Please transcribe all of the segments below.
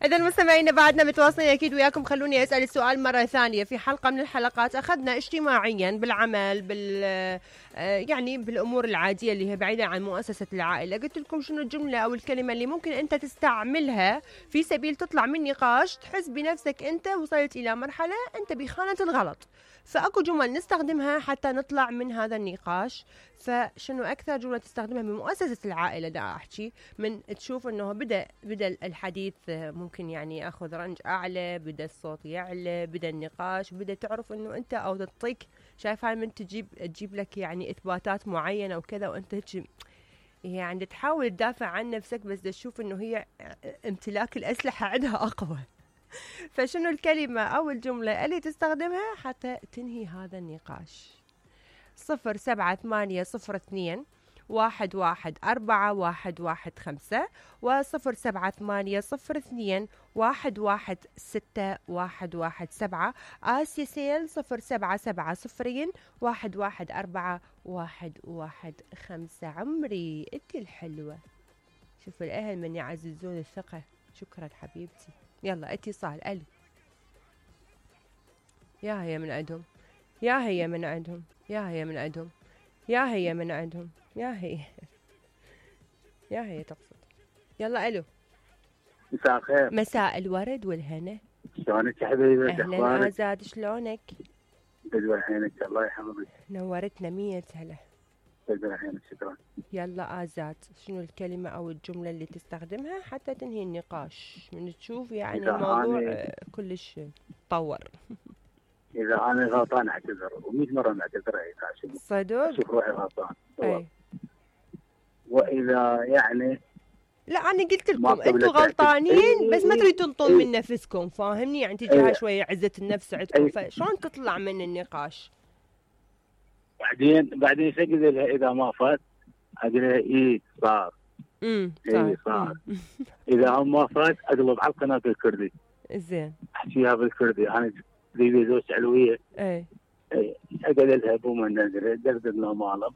إذا مستمعينا بعدنا متواصلين أكيد وياكم. خلوني أسأل السؤال مرة ثانية. في حلقة من الحلقات أخذنا اجتماعيا بالعمل يعني بالأمور العادية اللي هي بعيدة عن مؤسسة العائلة، قلت لكم شنو الجملة أو الكلمة اللي ممكن أنت تستعملها في سبيل تطلع من نقاش تحس بنفسك أنت وصلت إلى مرحلة أنت بخانة الغلط. فأكو جمل نستخدمها حتى نطلع من هذا النقاش. فشنو أكثر جملة تستخدمها بمؤسسة العائلة دا أحكي من تشوف أنه بدأ الحديث ممكن يعني أخذ رنج أعلى، بدأ الصوت يعلى، بدأ النقاش، بدأ تعرف أنه أنت أو تعطيك شايف هاي من تجيب لك يعني إثباتات معينة وكذا، وأنت يعني تحاول تدافع عن نفسك بس تشوف أنه هي امتلاك الأسلحة عندها أقوى. فشنو الكلمة أو الجملة اللي تستخدمها حتى تنهي هذا النقاش؟ 0780211415 و078021161117 آسيا سيل 0770114115. عمري انت الحلوة. شوف الأهل من يعززون الثقة. شكرا حبيبتي. يلا اتصال. ألو. يا هي من عندهم، يا هي من عندهم، يا هي من عندهم، يا هي من عندهم، يا هي يا هي تقصد. يلا ألو. مساء الخير. مساء الورد والهنا. شلونك يا حبيبي؟ أهلا آزاد، شلونك؟ بدور عينك الله يحفظك. نورتنا 100 هلا. بدور عينك شكرا. يلا آزاد، شنو الكلمة أو الجملة اللي تستخدمها حتى تنهي النقاش من تشوف يعني الموضوع كلش طور؟ إذا أنا غلطان أعتذر، و100 مرة نعتذر عشان صدق؟ أشوف روحي غلطان. أي. وإذا يعني لا أنا قلت لكم أنتم غلطانين بس ما تريد تنطون من نفسكم، فاهمني؟ يعني تجيها شوية عزة النفس عندكم، فشلون تطلع من النقاش؟ بعدين سجل إذا ما فات أقول إيه صار. إيه صار. إذا هم ما فات أقلب على القناة الكردي. زين. أحكيها بالكردي. أنا ذي زوج علوية. إيه. أقول لها بوما نادر دردنا ماله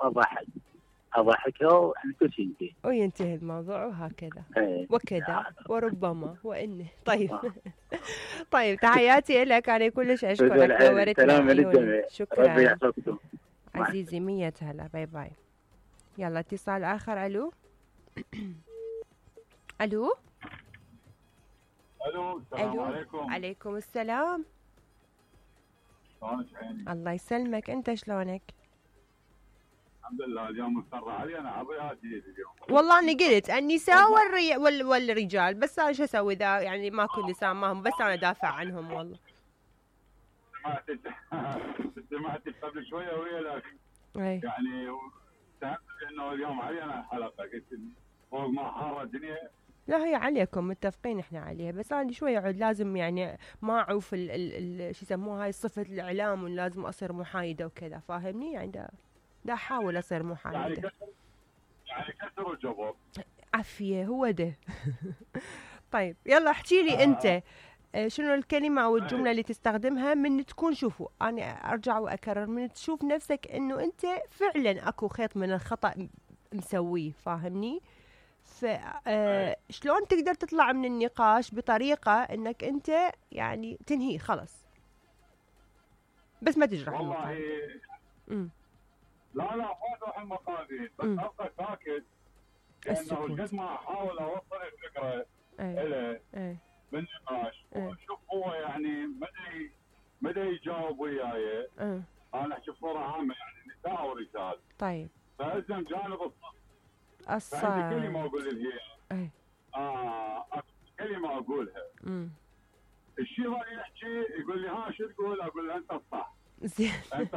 أضحكها وإحنا كل شيء ينتهي. وينتهي الموضوع وهكذا. وكذا وربما وإنه. طيب. طيب تحياتي لك، أنا كلش أشكرك. نورتنا. شكرا. ربي يحفظكم عزيزي. 100 هلا. باي باي. يلا اتصال آخر. ألو. ألو. ألو. السلام عليكم. عليكم السلام. شلونك عيني؟ الله يسلمك. أنت شلونك؟ الحمد لله. اليوم مضطر علي أنا عضياتي اليوم. والله أنا قلت النساء والرجال، بس أنا شو أسوي إذا يعني ماكو نساء معهم، بس أنا دافع عنهم. والله سمعت قبل شوية ويا لك يعني سمعت إنه اليوم علي أنا الحلقة، قلت فوق ما حارة الدنيا. لا هي عليكم، متفقين احنا عليها، بس انا شوي عود لازم يعني ما اعوف شو يسموها هاي صفة الاعلام، ولازم اصير محايدة وكذا، فاهمني؟ يعني دا احاول اصير محايدة. يعني كسر الجبر. عافية هو ده. طيب يلا احكي لي انت شنو الكلمة او الجملة اللي تستخدمها من تكون، شوفوا انا ارجع واكرر، من تشوف نفسك انه انت فعلا اكو خيط من الخطأ مسويه، فاهمني؟ شلون تقدر تطلع من النقاش بطريقة انك انت يعني تنهيه خلص بس ما تجرح والله لا ما تروح المقادير، بس ابقى ساكت لانه قد ما احاول اوصل الفكرة له بالنقاش وشوف هو يعني مدى يجاوب وياي. انا احكي بصورة عامة يعني نساء ورجال. طيب فالزم جانب الصح. عندي كلمة اقول لها كلمة اقولها. الشيء اللي يحكي يقول لي ها شو تقول؟ اقول له انت الصح. زين. انت